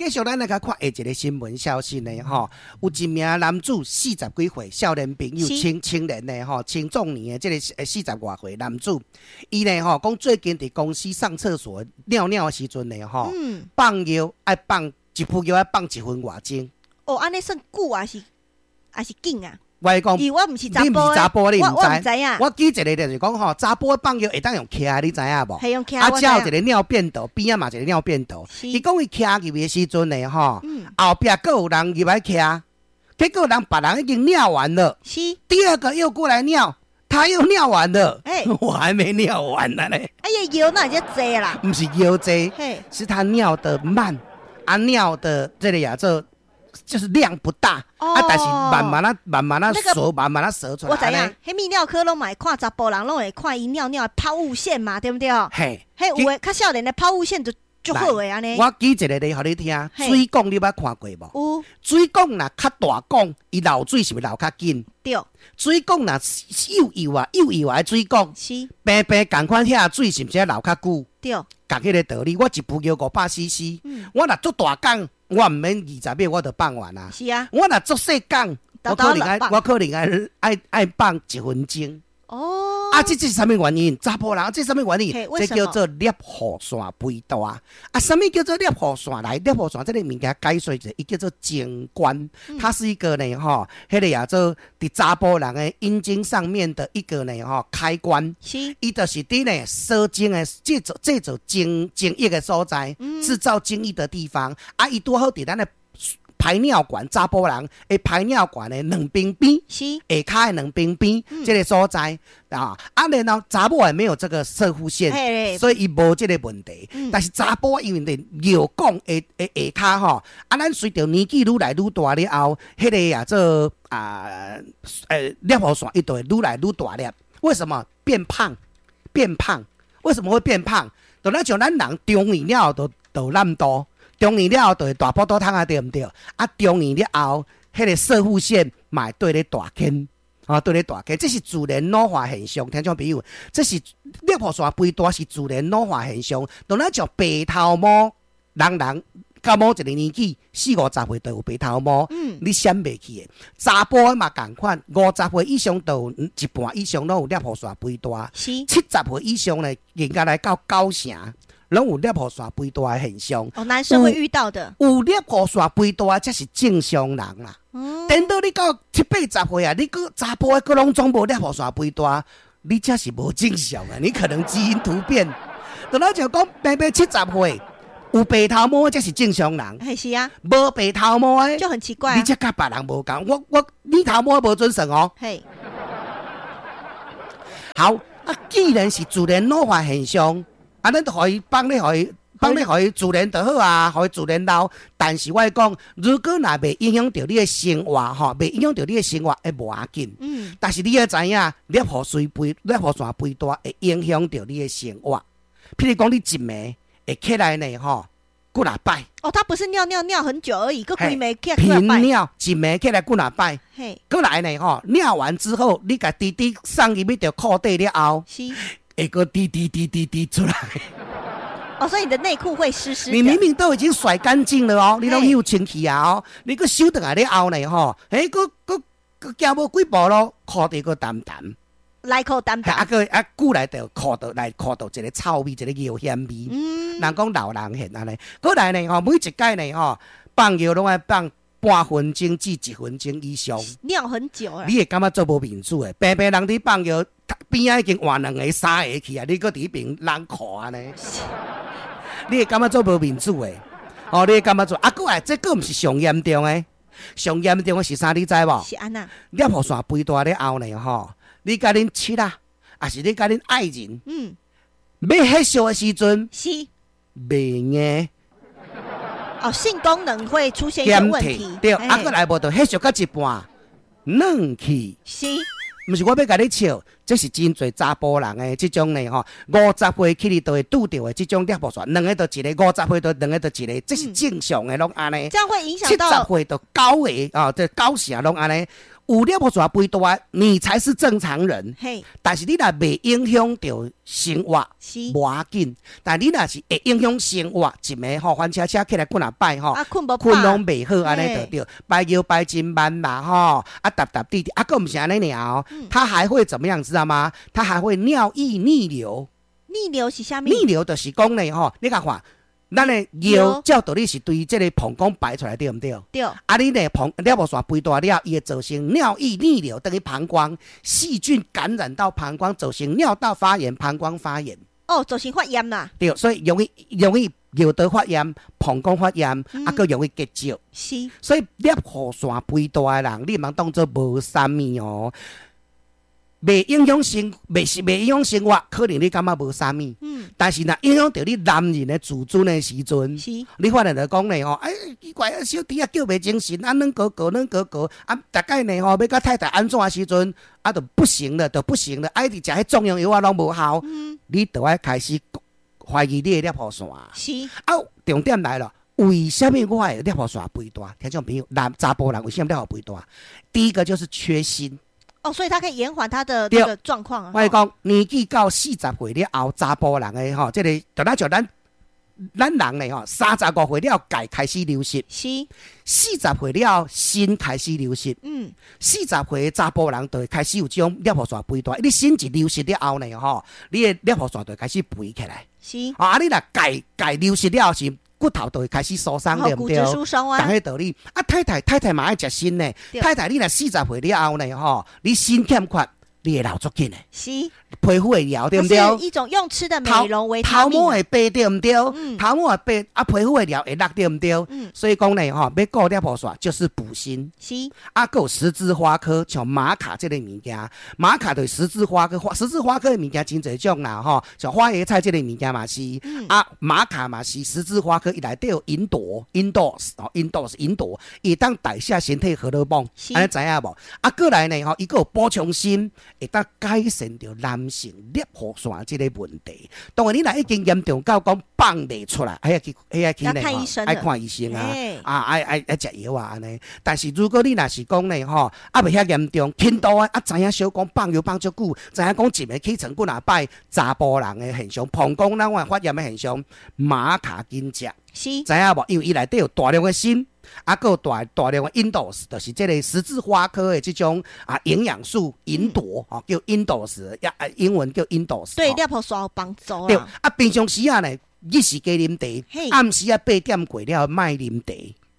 繼續咱來共看下一個新聞消息呢，吼，有一名男子四十幾歲，少年朋友，青青年的吼，青壯年的這个四十外歲男子，伊呢吼講最近佇公司上廁所尿尿的時陣呢，吼，放尿愛放一泡尿愛放一分外鐘。哦，按呢算久還是還是緊啊？我講，因為我毋是查你毋是查埔，你毋知。影。我舉一個例就是講吼，查埔放尿會當用徛，你知影無？係用徛。啊，遮有一個尿便道，邊仔嘛一個尿便道。伊講伊徛入去的時陣呢，吼，後壁閣有人入來徛，結果人別人已經尿完了。第二個又過來尿，他又尿完了。我還沒尿完呢。哎呀，尿哪會遮濟啦？毋是尿濟，是他尿得慢，啊，尿的這個呀，這就是量不大，啊，但是慢慢啊，慢慢啊，趖，慢慢啊，趖出來。我知影，彼泌尿科攏嘛會看查埔人，攏會看伊尿尿的拋物線嘛，對毋對？嘿，彼有的較少年的拋物線就足好的按呢。我舉一個例予你聽，水管你捌看過無？有。水管若較大管，伊漏水是毋是漏較緊？對。水管若幼幼啊，幼幼的水管，平平仝款遐水是毋是漏較久？對。仝彼个道理，我一泡尿500 cc，我若足大管，我毋免20秒我就放完啊。是啊。我若足細管，我可能愛愛愛放一分鐘。哦。啊，這是啥物原因？查埔人，這啥物原因？這叫做攝護腺肥大。啊，啥物叫做攝護腺？來，攝護腺這个物件解說一下，伊叫做精關，它是一個呢，吼，彼个也做佇查埔人的陰莖上面的一個呢，吼，開關。伊就是佇呢，射精的製造精液的所在，製造精液的地方。啊，伊拄好佇咱的排尿管，查埔人的排尿管的兩邊邊，下跤的兩邊邊，這个所在啊，啊，然後查某的沒有這個攝護腺，所以伊無這个問題。但是查埔因為佇尿管的下跤吼，啊，咱隨著年紀愈來愈大了後，彼个啊做啊，攝護腺伊就會愈來愈大粒。為什麼變胖？變胖？為什麼會變胖？就咱像咱人中年了後就就爛肚。中年了後就會大腹肚桶啊，對毋對？啊，中年了後，彼个攝護腺嘛會綴咧大間，啊，綴咧大間，這是自然老化現象。聽眾朋友，這是攝護腺肥大是自然老化現象。當咱像白頭毛，人人到某一個年紀，四五十歲就有白頭毛，你閃袂去的。查埔的嘛仝款，50歲以上就有一半以上攏有攝護腺肥大，70歲以上呢，應該來到九成。攏有攝護腺肥大的現象。哦，男生會遇到的。有攝護腺肥大，才是正常人啦。等到你到七八十歲啊，你閣查埔的閣攏總無攝護腺肥大，你才是無正常啊！你可能基因突變。就咱就講，平平70歲有白頭毛，才是正常人。係是啊。無白頭毛的就很奇怪。你才佮別人無仝。我你頭毛無準算哦。好啊，既然是自然老化現象。啊，咱就予伊放咧，予伊放咧，予伊自然就好啊，予伊自然老。但是我講，如果若袂影響著你的生活吼，袂影響著你的生活，會無要緊。但是你愛知影，攝護腺肥，攝護腺肥大會影響著你的生活。譬如講，你一暝會起來呢，吼，幾若擺。哦，他不是尿尿尿很久而已，閣規暝起來頻尿一暝起來幾若擺。閣來呢，吼，尿完之後，你共直直送入去著褲底了後。會閣滴滴滴滴滴出來。哦，所以你的內褲會濕濕。你明明都已經甩乾淨了哦，你攏有清氣啊哦，你閣收轉來了後呢吼，欸，閣閣閣行無幾步咯，褲底閣澹澹。內褲澹澹。啊，閣啊，久來就褲度內褲度一個臭味，一個尿薟味。人講老人現按呢，閣來呢吼，每一擺呢吼，放尿攏愛放半分鐘至一分鐘以上。尿很久啊。你會感覺足無面子的，平平人佇放尿。邊仔已經換兩个、三个去啊！你閣佇彼邊攏褲按呢？你會感覺足無面子的？哦，你會感覺做啊？閣來，這閣毋是上嚴重的，上嚴重的是啥？你知無？是按怎？攝護腺肥大了後呢？吼，你佮恁妻仔，抑是你佮恁愛人，欲彼相的時陣，袂硬。哦，性功能會出現一些問題。對，啊，閣來無就彼相到一半，軟去。毋是我欲共你笑，這是真濟查埔人的這種呢吼，50歲起你就會拄著的這種攝護腺，兩个就一个，50歲就兩个就一个，這是正常的，攏按呢。這樣會影響到。70歲就九个啊，這九成攏按呢。有尿路線肥大，你才是正常人。但是你若袂影響著生活，無要緊。但你若是會影響生活，一暝吼翻車車起來幾若擺吼，睏無睏攏袂好，按呢就對。排尿排真慢啦吼，啊沓沓滴滴，啊閣毋是按呢爾哦，他還會怎麼樣，知道嗎？他還會尿液逆流。逆流是啥物？逆流就是講呢吼，你共看，咱的尿照道理是對這个膀胱排出來，對毋對？對。啊，你呢膀尿路線肥大了，伊會造成尿液逆流，等於膀胱細菌感染到膀胱，造成尿道發炎、膀胱發炎。哦，造成發炎啦。對，所以容易容易尿道發炎、膀胱發炎，啊，閣容易結石。所以尿路線肥大的人，你毋通當做無啥物哦。袂影響生，袂是袂影響生活，可能你感覺無啥物。但是若影響著你男人的自尊的時陣，你發現就講呢吼，哎，奇怪啊，小弟啊叫袂精神，啊，軟糊糊軟糊糊，啊，逐擺呢吼，欲佮太太按怎的時陣，啊，就不行了，就不行了，啊，一直食彼壯陽藥仔攏無效，你就愛開始懷疑你的尿路線。啊，重點來了，為啥物我會尿路線肥大？聽眾朋友，男查埔人為啥物尿路肥大？第一個就是缺鋅。哦，所以它可以延緩他的那個狀況。我講年紀到40歲了後，查埔人的吼，這個就咱像咱咱人咧吼，35歲了鈣開始流失。40歲了鋅開始流失。40歲查埔人就會開始有這種尿路線肥大。你鋅一流失了後呢吼，你的尿路線就會開始肥起來。啊，你若鈣鈣流失了後是骨頭就會開始疏鬆，對毋對？骨質疏鬆啊。同彼道理。啊，太太太太嘛愛食鋅呢。太太，你若四十歲了後呢，吼，你鋅欠缺，你會老足緊的。皮膚會老，對毋對？是一種用吃的美容維他命。頭毛會白，對毋對？頭毛會白，啊，皮膚會老會落，對毋對？所以講呢，吼，欲顧尿路線就是補鋅。啊，閣有十字花科，像瑪卡這个物件，瑪卡就是十字花科，十字花科的物件真濟種啦，吼，像花椰菜這个物件嘛是，啊，瑪卡嘛是十字花科，伊內底有吲哚，吲哚，哦，吲哚是吲哚，伊會當代謝身體荷爾蒙，按呢知影無？啊，過來呢，吼，伊閣有補充鋅，會當改善著男性尿路線這个問題。當然，你若已經嚴重到講放袂出來，愛去愛去呢，愛看醫生啊，啊，愛愛愛食藥啊，按呢。但是如果你若是講呢，吼，啊袂遐嚴重，輕度的，啊知影小講放尿放足久，知影講一暝起床幾若擺，查埔人的現象，膀胱咱話發炎的現象，瑪卡緊食，知影無？因為伊內底有大量的鋅。啊，閣有大大量的吲哚，就是這个十字花科的這種啊營養素吲哚，吼叫吲哚斯，啊英文叫吲哚。對，尿路線有幫助。對，啊平常時啊呢，日時加啉茶，暗時啊8點過了莫啉茶。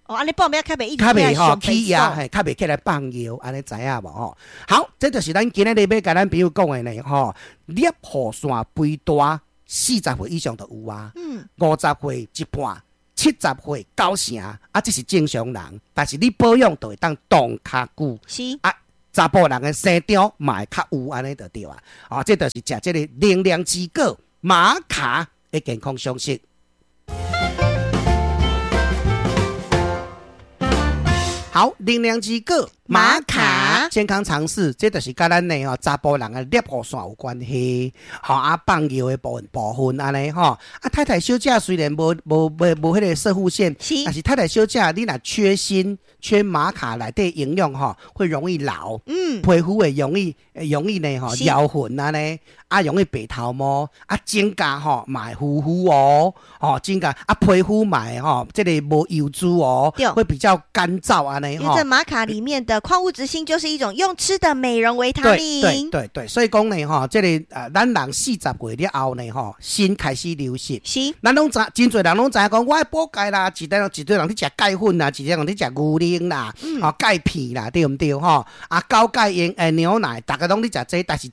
哦，按呢半暝較袂一較袂吼起夜，嘿，較袂起來放尿，按呢知影無吼？好，這就是咱今仔日欲共咱朋友講的呢，吼，尿路線肥大，40歲以上就有啊，50歲一半。70歲九成，啊，這是正常人，但是你保養就會當擋較久。啊，查埔人的生長嘛會較有按呢就對啊。啊，這就是食這个能量之果瑪卡的健康常識。好，能量之果瑪卡健康常識，這就是佮咱的吼查埔人的尿路線有關係。吼啊，放尿的部分部分按呢吼。啊，太太小姐雖然無無無無彼个攝護腺，但是太太小姐你若缺鋅、缺瑪卡內底營養吼，會容易老。皮膚會容易容易呢吼搖痕按呢，啊容易白頭毛，啊指甲吼嘛會糊糊哦，吼指甲啊皮膚嘛會吼這个無油脂哦，會比較乾燥按呢。因為這瑪卡裡面的礦物質鋅就是一種用吃的美容維他命。對對對，所以講呢，吼，這個咱人40歲了後呢，吼，鋅開始流失。咱攏知，真濟人攏知影講，我愛補鈣啦，一堆一堆人咧食鈣粉啦，一堆人咧食牛奶啦，吼鈣片啦，對毋對？吼，啊，高鈣鹽牛奶，逐家攏咧食這，但是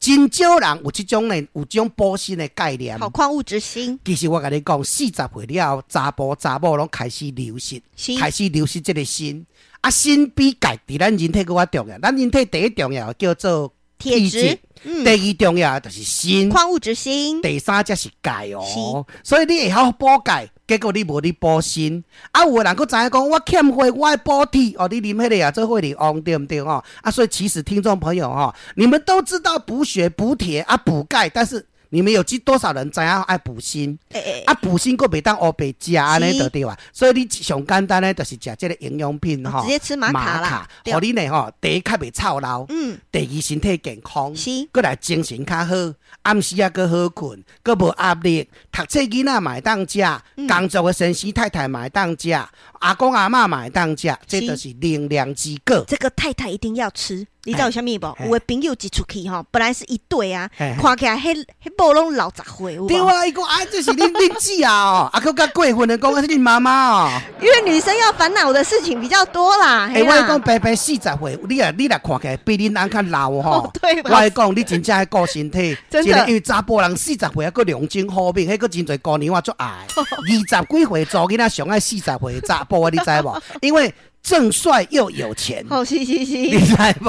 真少人有這種呢，有這種補鋅的概念。好，礦物質鋅。其實我共你講，40歲了後，查埔查某攏開始流失，開始流失這個鋅。啊，鋅比鈣佇咱人體閣較重要。咱人體第一重要叫做鐵質，第二重要就是鋅，礦物質鋅。第三才是鈣哦。所以你會曉補鈣，結果你無咧補鋅。啊，有的人閣知影講，我欠火，我愛補鐵哦。你啉彼个啊，做火力旺對毋對吼？啊，所以其實聽眾朋友吼，你們都知道補血、補鐵啊、補鈣，但是你們有知多少人知影愛補鋅？欸啊，補鋅閣袂當烏白食按呢就對啊。所以你上簡單的就是食這個營養品吼，直接吃瑪卡啦，予你呢吼，第一較袂臭老，第二身體健康，閣來精神較好，暗時啊閣好睏，閣無壓力，讀冊囡仔嘛會當食，工作的先生太太嘛會當食，阿公阿嬤嘛會當食，這就是能量之果。這個太太一定要吃，你知道為啥物無？有的朋友一出去吼，本來是一對啊，看起來彼彼某攏老十歲，對啊，伊講啊，這是恁恁姊啊，啊，閣較過分的講，啊，是恁媽媽哦。因為女生要煩惱的事情比較多啦。欸，我講白白40歲，你若看起來比恁翁較老吼。對。我講你真正愛顧身體，真的。因為查埔人四十歲還閣龍精虎猛，彼閣真濟姑娘仔足愛。20幾歲查某囡仔上愛四十歲查埔啊，你知無？因為正帥又有錢，哦，是是是，你知無？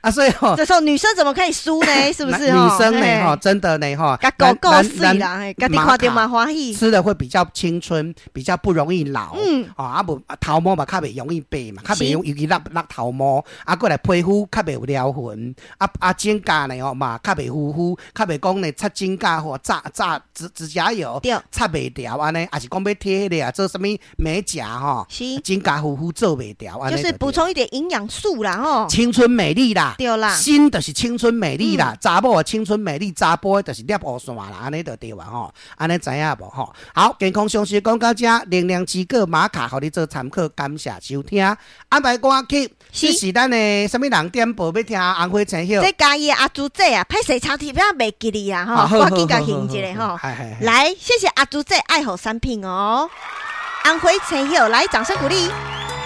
啊，所以吼，這時候女生怎麼可以輸呢？是不是？女生呢？吼，真的呢？吼，佮夠夠媠啦，家己看著嘛歡喜，吃的會比較青春，比較不容易老。啊無頭毛嘛較袂容易白嘛，較袂容易尤其落落頭毛。啊，過來皮膚較袂有撩痕。啊啊，指甲呢吼嘛較袂糊糊，較袂講呢擦指甲或炸炸指指甲油，擦袂掉按呢，抑是講欲貼彼个啊，做啥物美甲吼，指甲糊糊做袂掉，就是補充一點營養素啦，吼，青春美麗啦，對啦，鋅就是青春美麗啦，查某的青春美麗，查埔的就是攝烏線啦，按呢就對啊吼，按呢知影無吼？好，健康常識講到這，能量之果瑪卡，予你做參考，感謝收聽。安排歌曲，這是咱的啥物人點播欲聽紅花青葉？這嘉義阿朱姐啊，歹勢插題表袂記得啊，吼，趕緊共還一下吼。來，謝謝阿朱姐愛護產品哦。紅花青葉，來，掌聲鼓勵。